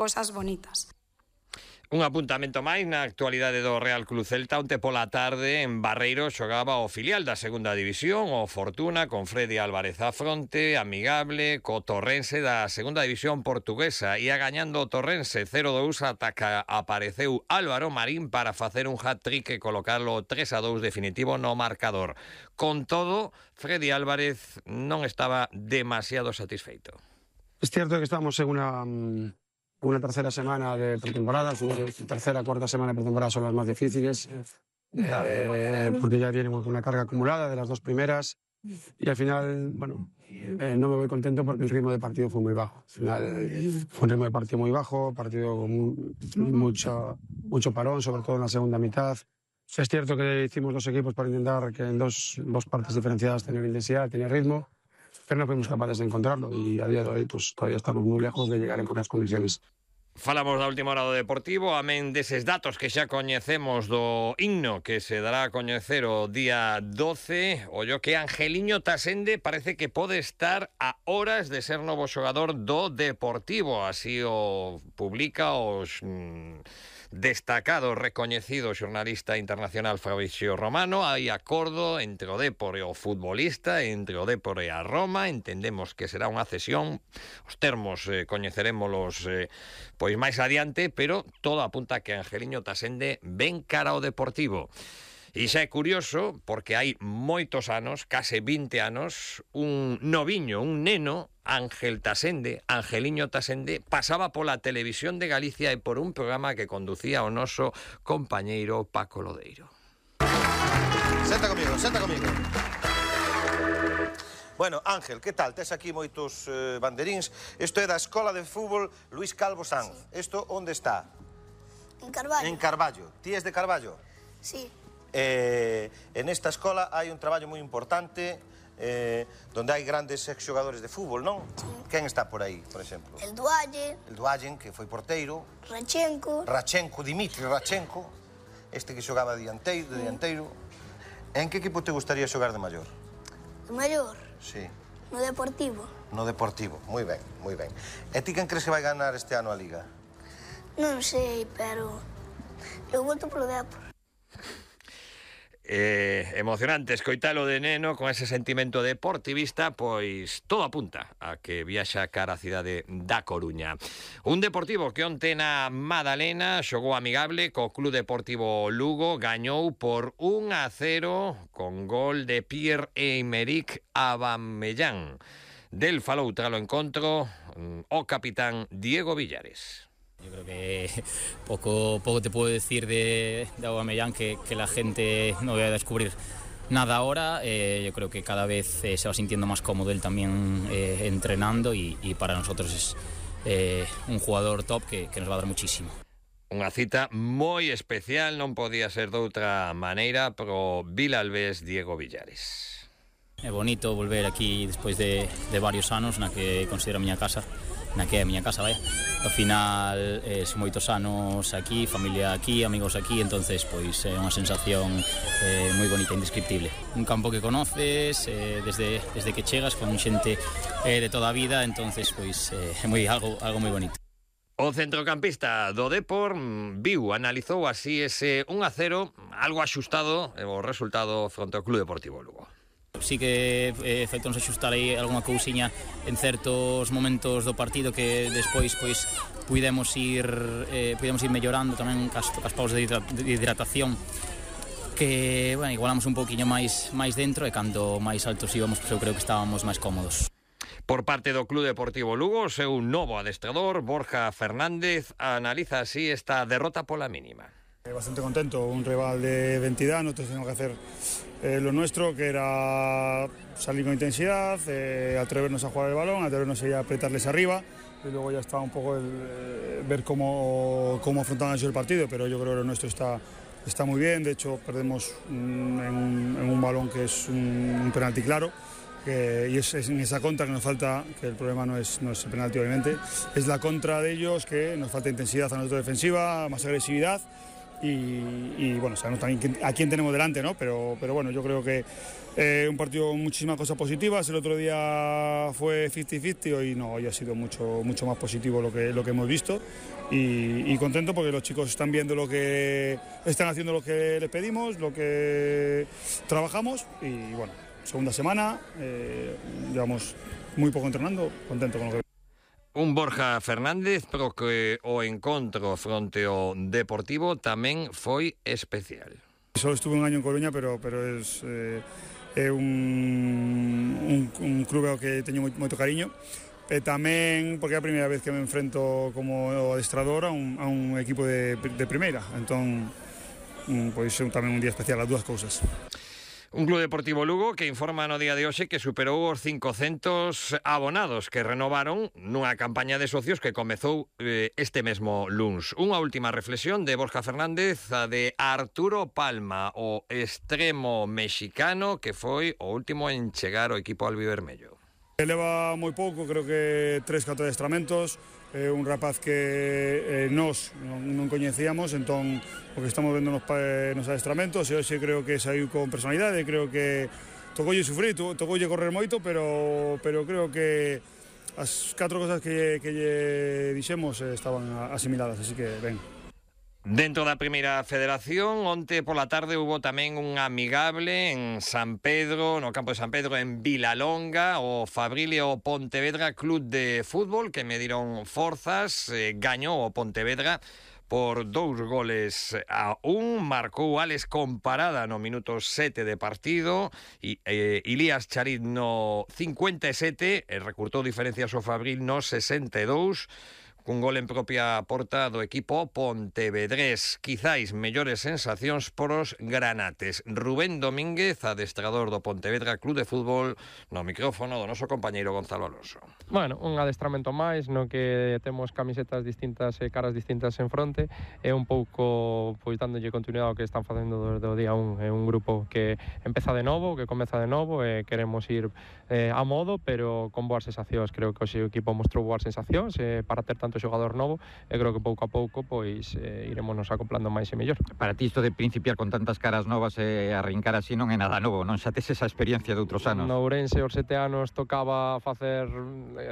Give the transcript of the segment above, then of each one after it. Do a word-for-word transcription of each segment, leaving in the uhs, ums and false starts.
cosas bonitas. Un apuntamento máis na actualidade do Real Club Celta. Onte pola tarde en Barreiro xogaba o filial da segunda división, o Fortuna, con Freddy Álvarez á fronte, amigable co Torrense da segunda división portuguesa. Ia gañando o Torrense cero dous ata que apareceu Álvaro Marín para facer un hat-trick e colocarlo tres a dous definitivo no marcador. Con todo, Freddy Álvarez non estaba demasiado satisfeito. Es cierto que estamos en una... una tercera semana de pretemporada, su tercera, cuarta semana de pretemporada son las más difíciles, eh, porque ya tenemos una carga acumulada de las dos primeras, y al final, bueno, eh, no me voy contento porque el ritmo de partido fue muy bajo. Al final fue un ritmo de partido muy bajo, partido con muy, mucho, mucho parón, sobre todo en la segunda mitad. Es cierto que hicimos dos equipos para intentar que en dos, dos partes diferenciadas tener intensidad, tener ritmo, pero no fuimos capaces de encontrarlo y a día de hoy pues todavía estamos muy lejos de llegar en buenas condiciones. Falamos da última hora do Deportivo, amén deses datos que xa coñecemos do himno que se dará a coñecer o día doce. Ollo que Angeliño Tasende parece que pode estar a horas de ser novo xogador do Deportivo, así o publica os mm, destacado, recoñecido xornalista internacional Fabrizio Romano. Hai acordo entre o Depor e o futbolista, entre o Depor e a Roma. Entendemos que será unha cesión, os termos eh, coñecerémolos eh, pois máis adiante, pero todo apunta que Angeliño Tasende ven cara ao Deportivo. E xa é curioso, porque hai moitos anos, case vinte anos, un noviño, un neno, Ángel Tasende, Angeliño Tasende, pasaba pola televisión de Galicia e por un programa que conducía o noso compañeiro Paco Lodeiro. Senta comigo, senta comigo. Bueno, Ángel, que tal? Tes aquí moitos eh, banderíns. Isto é da Escola de Fútbol Luís Calvo Sanz. Isto onde está? En Carballo. En Carballo. Ti és de Carballo? Sí. Eh, en esta escola hai un traballo moi importante eh, donde hai grandes exxogadores de fútbol, non? Sí. Quen está por aí, por exemplo? El Dualle. El Duallen, que foi porteiro. Rachenko. Rachenko, Dimitri Rachenko. Este que xogaba de dianteiro. De dianteiro. En que equipo te gustaría xogar de maior? De maior? Sí. No Deportivo. No Deportivo, moi ben, moi ben. E ti quen crees que vai ganar este ano a Liga? Non sei, pero eu volto polo Depor. Eh, emocionante escoitalo de neno con ese sentimento deportivista, pois todo apunta a que viaxa cara a cidade da Coruña. Un Deportivo que onte na Madalena xogou amigable co Club Deportivo Lugo, gañou por un a cero con gol de Pierre-Emerick Aubameyang. Del falou tralo encontro o capitán Diego Villares. Yo creo que poco, poco te puedo decir de, de Aubameyang, que, que la gente no voy a descubrir nada ahora. Eh, yo creo que cada vez eh, se va sintiendo más cómodo él también eh, entrenando y, y para nosotros es eh, un jugador top que, que nos va a dar muchísimo. Unha cita moi especial, non podía ser doutra maneira, pro vilalbés Diego Villares. É bonito volver aquí despois de, de varios anos na que considero a miña casa, na que é a miña casa, vai. Ao final, eh, son moitos anos aquí, familia aquí, amigos aquí, entonces pois é unha sensación eh, moi bonita, indescriptible. Un campo que conoces eh, desde, desde que chegas con xente eh, de toda a vida, entonces pois é eh, moi algo, algo moi bonito. O centrocampista do Depor viu, analizou así ese un a cero, algo axustado, o resultado fronte ao Club Deportivo Lugo. Sí que eh, feitos axustar aí algunha cousiña en certos momentos do partido que despois pois puidemos ir eh, puidemos ir mellorando tamén cas, cas paus de hidratación, que, bueno, igualamos un pouquiño máis máis dentro e cando máis altos íbamos, pois eu creo que estábamos máis cómodos. Por parte do Club Deportivo Lugo, seu novo adestrador, Borja Fernández, analiza así esta derrota pola mínima. Bastante contento, un rival de, de entidad, nosotros tenemos que hacer eh, lo nuestro, que era salir con intensidad, eh, atrevernos a jugar el balón, atrevernos a apretarles arriba, y luego ya está un poco el, eh, ver cómo, cómo afrontaban ellos el partido, pero yo creo que lo nuestro está, está muy bien. De hecho perdemos un, en, un, en un balón que es un, un penalti claro, que, y es, es en esa contra que nos falta, que el problema no es, no es el penalti obviamente, es la contra de ellos, que nos falta intensidad a nosotros defensiva, más agresividad. y, y bueno, sabemos también a quién tenemos delante, ¿no? Pero, pero bueno, yo creo que eh, un partido con muchísimas cosas positivas. El otro día fue cincuenta cincuenta, hoy no, hoy ha sido mucho, mucho más positivo lo que, lo que hemos visto y, y contento porque los chicos están viendo lo que, están haciendo lo que les pedimos, lo que trabajamos y bueno, segunda semana, eh, llevamos muy poco entrenando, contento con lo que... Un Borja Fernández, pero que o encontro fronte ao Deportivo tamén foi especial. Solo estuve un año en Coruña, pero, pero es, eh, é un, un, un club ao que teño moito cariño. E tamén porque é a primeira vez que me enfrento como adestrador a un, a un equipo de, de primeira. Entón, pois é tamén un día especial, as dúas cousas. Un Club Deportivo Lugo que informa no día de hoxe que superou os cincocentos abonados que renovaron nunha campaña de socios que comezou eh, este mesmo luns. Unha última reflexión de Borja Fernández, a de Arturo Palma, o extremo mexicano que foi o último en chegar ao equipo albivermello. Leva moi pouco, creo que tres, catro adestramentos, é un rapaz que eh, nós non, non coñecíamos, entón o que estamos vendo nos, nos adestramentos, e hoxe creo que saiu con personalidade, creo que tocoulle sufrir, to, tocoulle correr moito, pero, pero creo que as catro cosas que, que lle dixemos eh, estaban asimiladas, así que ben. Dentro da primeira federación, onte pola tarde hubo tamén un amigable en San Pedro, no campo de San Pedro, en Vilalonga, o Fabrilio Pontevedra Club de Fútbol, que mediron forzas, eh, gañou o Pontevedra por dous goles a un, marcou Alex Comparada no minuto sete de partido, e eh, Ilías Charit no cincuenta e sete, e recurtou diferencias o Fabril no sesenta e dous, cun gol en propia porta do equipo pontevedrés. Quizáis mellores sensacións poros granates. Rubén Domínguez, adestrador do Pontevedra Club de Fútbol, no micrófono do noso compañeiro Gonzalo Alonso. Bueno, un adestramento máis no que temos camisetas distintas e caras distintas en fronte, e un pouco pois dándolle continuidade ao que están facendo desde o día un. É un grupo que empeza de novo, que comeza de novo, e queremos ir eh, a modo, pero con boas sensacións. Creo que o equipo mostrou boas sensacións eh, para ter tanto xogador novo, e creo que pouco a pouco pois eh, iremos nos acoplando máis e mellor. Para ti isto de principiar con tantas caras novas e arrincar así non é nada novo, non xa tes esa experiencia de outros anos? No Ourense os sete anos tocaba facer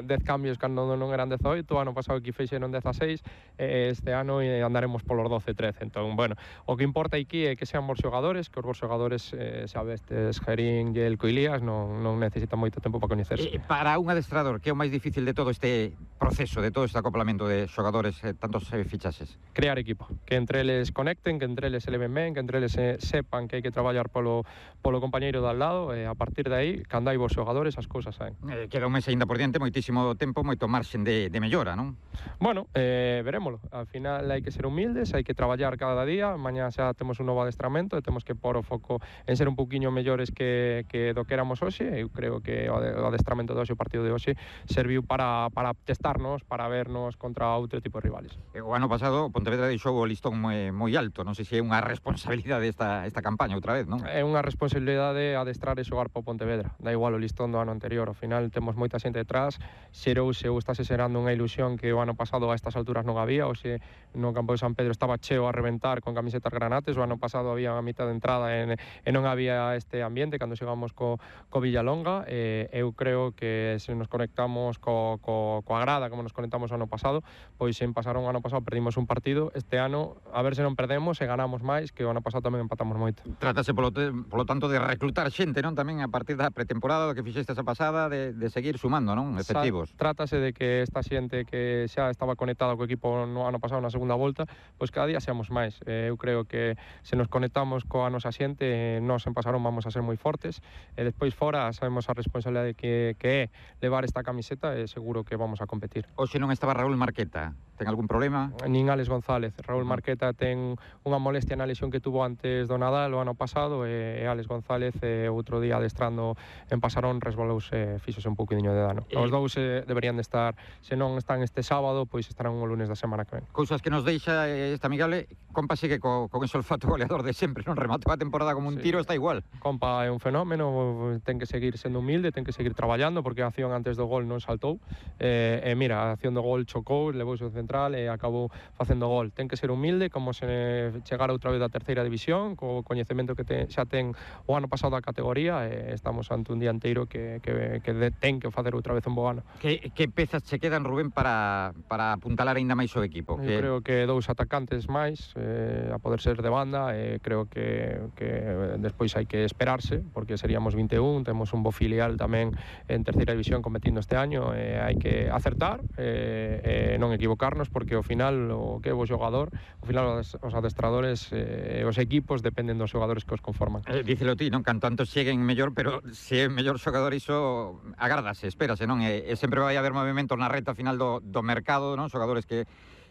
dez cambios cando non eran dezaoito, o ano pasado que fixeron dezaseis, e este ano andaremos polos doce, trece. Entón, bueno, o que importa aquí é que sean bons xogadores, que os bons xogadores, eh, sabestes, Gerín, Yelko e Ilías, non, non necesitan moito tempo para coñecerse. Eh, para un adestrador, que é o máis difícil de todo este proceso, de todo este acoplamento de xogadores, eh, tantos eh, fichaxes? Crear equipo, que entre eles conecten, que entre eles se leven ben, que entre eles eh, sepan que hai que traballar polo, polo compañeiro de al lado, e a partir de aí, cando hai vos xogadores, as cousas saen. Eh, queda un mes ainda por diante, moitísimo tempo, moito marxen de, de mellora, non? Bueno, eh, verémolo. Al final hai que ser humildes, hai que traballar cada día. Mañá xa temos un novo adestramento e temos que pôr o foco en ser un pouquiño mellores que, que do que éramos hoxe. Eu creo que o adestramento de hoxe, o partido de hoxe, serviu para, para testarnos, para vernos contra outro tipo de rivales. O ano pasado Pontevedra deixou o listón moi, moi alto, non sei se é unha responsabilidade esta, esta campaña outra vez, non? É unha responsabilidade adestrar e xogar para o Pontevedra, da igual o listón do ano anterior. Ao final temos moita xente detrás, xerouse ou estáse xerando unha ilusión que o ano pasado a estas alturas non había. Hoxe no campo de San Pedro estaba cheo a reventar con camisetas granates, o ano pasado había a mitad de entrada e, e non había este ambiente cando xegamos co, co Villalonga. E eu creo que se nos conectamos co, co, coa grada como nos conectamos o ano pasado, pois sen pasar un ano pasado perdimos un partido, este ano a ver se non perdemos e ganamos máis, que o ano pasado tamén empatamos moito. Trátase polo, te, polo tanto de reclutar xente, non? Tamén a partir da pretemporada do que fixeste esa pasada, de, de seguir sumando, non? Efectivos. Sa, trátase de que esta xente que xa estaba conectada co equipo no ano pasado na segunda volta, pois cada día seamos máis. Eh, eu creo que se nos conectamos coa nosa xente, nós en Pasarón vamos a ser moi fortes, e despois fora sabemos a responsabilidade que, que é levar esta camiseta, e seguro que vamos a competir. Hoxe non estaba Raúl Marqueta, ten algún problema? Nin Alex González. Raúl Marqueta ten unha molestia na lesión que tuvo antes do Nadal o ano pasado, e Alex González eh, outro día adestrando en Pasarón resbalouse, fíxose un pouquidiño de dano. Os dous eh, deberían de estar, se non están este sábado, pois estarán o lunes da semana que ven. Cousas que nos deixa esta amigable. Compa sigue co, con ese olfato goleador de sempre, non? Rematou a temporada como un sí. tiro, está igual. Compa é un fenómeno, ten que seguir sendo humilde, ten que seguir traballando, porque a acción antes do gol non saltou, e, e mira, a acción do gol chocou, levouse o centro central e acabou facendo gol. Ten que ser humilde, como se chegara outra vez da terceira división, co coñecemento que te, xa ten o ano pasado a categoría, e estamos ante un dianteiro que, que, que de, ten que facer outra vez un bo ano. Que, que pezas che quedan, Rubén, para, para apuntalar aínda máis o equipo? Eu que... creo que dous atacantes máis, eh, a poder ser de banda, e eh, creo que, que despois hai que esperarse, porque seríamos vinte e un, temos un bo filial tamén en terceira división competindo este año, e eh, hai que acertar e eh, eh, non equivocarnos, porque ao final o que é o xogador, ao final os, os adestradores e eh, os equipos dependen dos xogadores que os conforman. Eh, dícelo ti, non? Canto antes cheguen mellor, pero se é mellor xogador iso agardase, espérase, non? E, e sempre vai haber movimentos na reta final do, do mercado, non? Xogadores que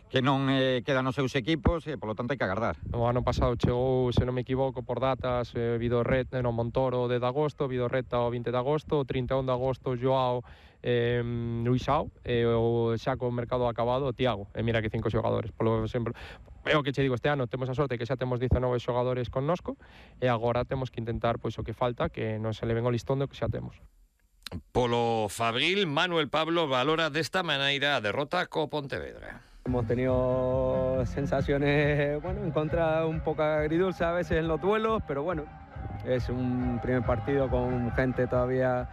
que non eh, quedan nos seus equipos e, polo tanto, hai que agardar. O ano pasado chegou, se non me equivoco, por datas, eh, Vidorret, no Montoro de agosto, Vidorreta o vinte de agosto, o trinta e un de agosto Joao, eh, Luisao, e o xa co mercado acabado o Tiago, e mira que cinco xogadores. Polo sempre, é o que che digo, este ano temos a sorte que xa temos dezanove xogadores connosco, e agora temos que intentar pois o que falta, que non se le ven o listón do que xa temos. Polo Fabril, Manuel Pablo valora desta maneira a derrota co Pontevedra. Hemos tenido sensaciones, bueno, en contra un poco agridulce a veces en los duelos, pero bueno, es un primer partido con gente todavía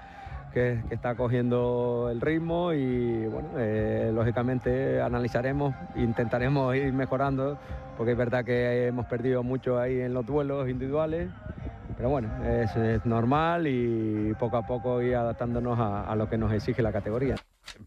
que, que está cogiendo el ritmo y bueno, eh, lógicamente analizaremos, intentaremos ir mejorando, porque es verdad que hemos perdido mucho ahí en los duelos individuales, pero bueno, es, es normal y poco a poco ir adaptándonos a, a lo que nos exige la categoría.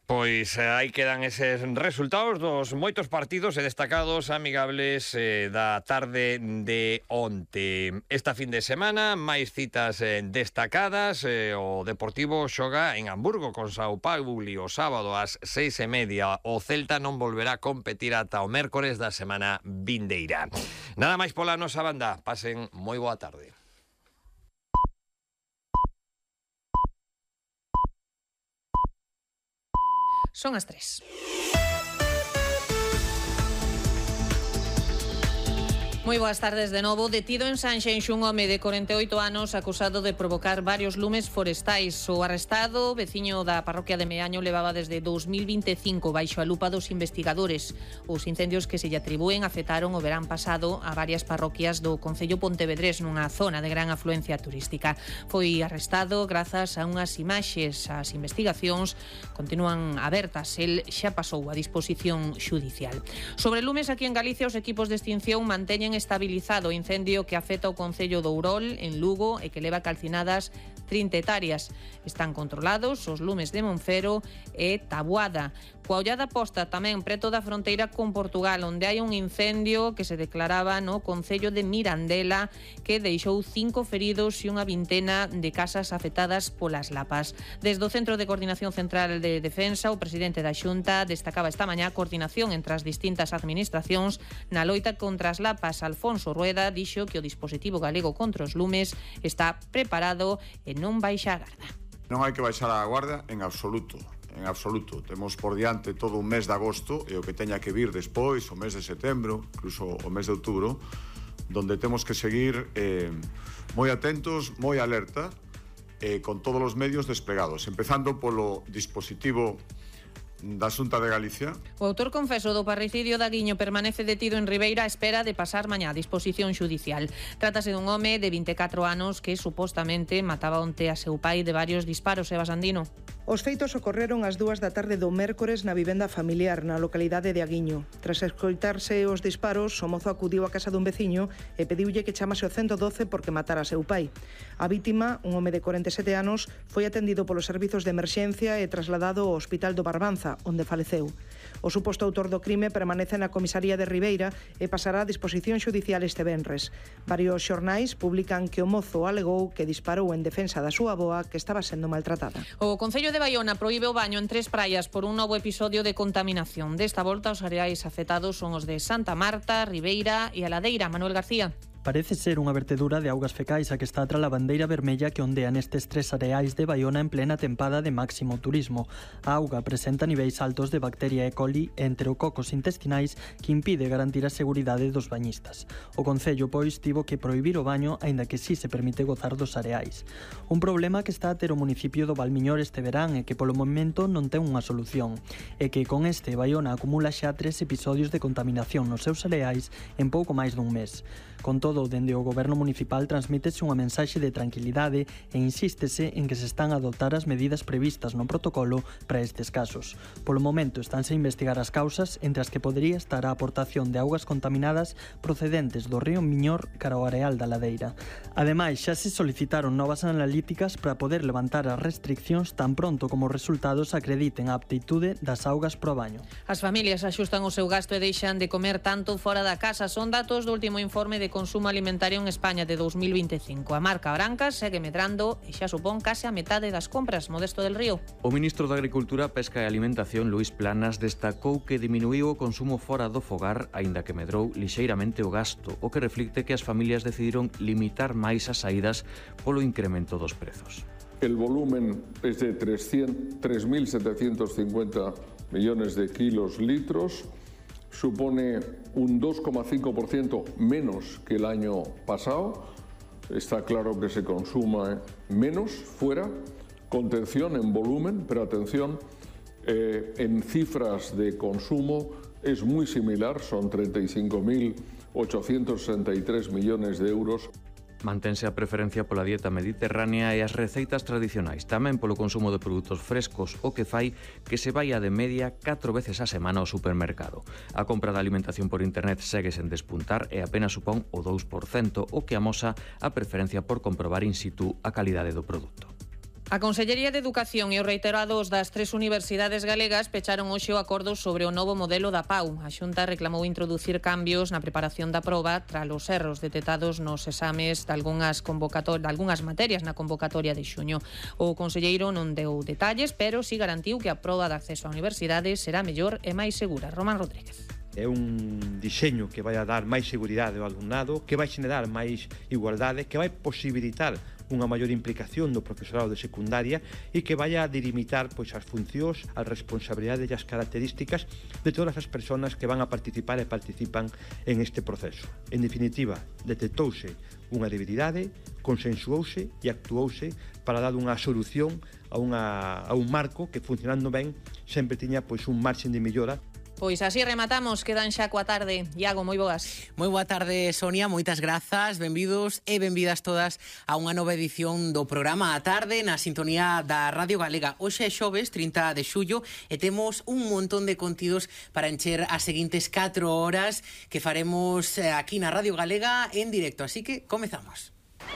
Pois eh, aí quedan eses resultados dos moitos partidos e destacados amigables eh, da tarde de onte. Esta fin de semana, máis citas eh, destacadas. Eh, o Deportivo xoga en Hamburgo con Sao Paulo o sábado ás seis e media. O Celta non volverá a competir ata o mércores da semana vindeira. Nada máis pola nosa banda. Pasen moi boa tarde. Son as tres. Moi boas tardes de novo. Detido en Sanxenxo un home de corenta e oito anos acusado de provocar varios lumes forestais. O arrestado, veciño da parroquia de Meaño, levaba desde dous mil vinte e cinco baixo a lupa dos investigadores. Os incendios que se lle atribúen afectaron o verán pasado a varias parroquias do concello pontevedrés nunha zona de gran afluencia turística. Foi arrestado grazas a unhas imaxes. As investigacións continúan abertas. El xa pasou a disposición xudicial. Sobre lumes aquí en Galicia, os equipos de extinción manteñen estabilizado o incendio que afecta o concello do Ourol, en Lugo, e que leva calcinadas trinta hectáreas. Están controlados os lumes de Monfero e Taboada. Coa ollada posta tamén preto da fronteira con Portugal, onde hai un incendio que se declaraba no concello de Mirandela, que deixou cinco feridos e unha vintena de casas afectadas polas lapas. Desde o Centro de Coordinación Central de Defensa, o presidente da Xunta destacaba esta mañá a coordinación entre as distintas administracións na loita contra as lapas. Alfonso Rueda dixo que o dispositivo galego contra os lumes está preparado e non baixa a garda. Non hai que baixar a guarda en absoluto. En absoluto. Temos por diante todo un mes de agosto e o que teña que vir despois, o mes de setembro, incluso o mes de outubro, donde temos que seguir eh, moi atentos, moi alerta, eh, con todos os medios desplegados, empezando polo dispositivo da Xunta de Galicia. O autor confeso do parricidio de Aguiño permanece detido en Ribeira a espera de pasar mañá a disposición xudicial. Trátase dun home de vinte e catro anos que supostamente mataba onte a seu pai de varios disparos. Eva Sandino. Os feitos ocorreron ás dúas da tarde do mércores na vivenda familiar na localidade de Aguiño. Tras escoitarse os disparos, o mozo acudiu á casa dun veciño e pediulle que chamase o ciento doce porque matara a seu pai. A vítima, un home de corenta e sete anos, foi atendido polos servizos de emerxencia e trasladado ao Hospital do Barbanza, onde faleceu. O suposto autor do crime permanece na comisaría de Ribeira e pasará a disposición xudicial este venres. Varios xornais publican que o mozo alegou que disparou en defensa da súa avoa, que estaba sendo maltratada. O Concello de Baiona proíbe o baño en tres praias por un novo episodio de contaminación. Desta volta, os areais afectados son os de Santa Marta, Ribeira e a Ladeira. Manuel García. Parece ser unha vertedura de augas fecais a que está tras a bandeira vermella que ondea nestes tres areais de Baiona en plena tempada de máximo turismo. A auga presenta niveis altos de bacteria E. coli e enterococos intestinais que impide garantir a seguridade dos bañistas. O Concello, pois, tivo que prohibir o baño, aínda que si se permite gozar dos areais. Un problema que está a ter o municipio do Valmiñor este verán e que polo momento non ten unha solución. É que con este Baiona acumula xa tres episodios de contaminación nos seus areais en pouco máis dun mes. Con todo, dende o goberno municipal transmítese unha mensaxe de tranquilidade e insístese en que se están a adoptar as medidas previstas no protocolo para estes casos. Polo momento estánse a investigar as causas, entre as que podería estar a aportación de augas contaminadas procedentes do río Miñor cara ao areal da ladeira. Ademais, xa se solicitaron novas analíticas para poder levantar as restriccións tan pronto como os resultados acrediten a aptitude das augas pro baño. As familias axustan o seu gasto e deixan de comer tanto fora da casa. Son datos do último informe de consumo alimentario en España de dos mil vinte e cinco. A marca branca segue medrando e xa supón case a metade das compras. Modesto del Río. O ministro de Agricultura, Pesca e Alimentación, Luís Planas, destacou que diminuiu o consumo fora do fogar, aínda que medrou lixeiramente o gasto, o que reflicte que as familias decidiron limitar máis as saídas polo incremento dos prezos. El volumen es de tres mil setecientos cincuenta millones de kilos litros, supone un dos coma cinco por ciento menos que el año pasado. Está claro que se consuma menos fuera, contención en volumen, pero atención, eh, en cifras de consumo es muy similar, son treinta y cinco mil ochocientos sesenta y tres millones de euros. Mantense a preferencia pola dieta mediterránea e as receitas tradicionais, tamén polo consumo de produtos frescos, o que fai que se vaia de media catro veces a semana ao supermercado. A compra de alimentación por internet segue sen despuntar e apenas supón o dous por cento, o que amosa a preferencia por comprobar in situ a calidade do produto. A Consellería de Educación e os reiterados das tres universidades galegas pecharon hoxe o acordo sobre o novo modelo da P A U. A Xunta reclamou introducir cambios na preparación da proba tras os erros detectados nos exames de algunhas, convocator... de algunhas materias na convocatoria de xuño. O conselleiro non deu detalles, pero si garantiu que a proba de acceso á universidade será mellor e máis segura. Román Rodríguez. É un diseño que vai a dar máis seguridade ao alumnado, que vai xenerar máis igualdade, que vai posibilitar unha maior implicación do profesorado de secundaria e que vai a delimitar pois, as funcións, as responsabilidades e as características de todas as persoas que van a participar e participan en este proceso. En definitiva, detectouse unha debilidade, consensuouse e actuouse para dar unha solución a, unha, a un marco que, funcionando ben, sempre tiña pois, un marxen de mellora. Pois así rematamos, quedan xa coa tarde. Iago, moi boas. Moi boa tarde, Sonia, moitas grazas, benvidos e benvidas todas a unha nova edición do programa A Tarde na sintonía da Radio Galega. Hoxe é xoves, trinta de xullo, e temos un montón de contidos para encher as seguintes catro horas que faremos aquí na Radio Galega en directo, así que comezamos.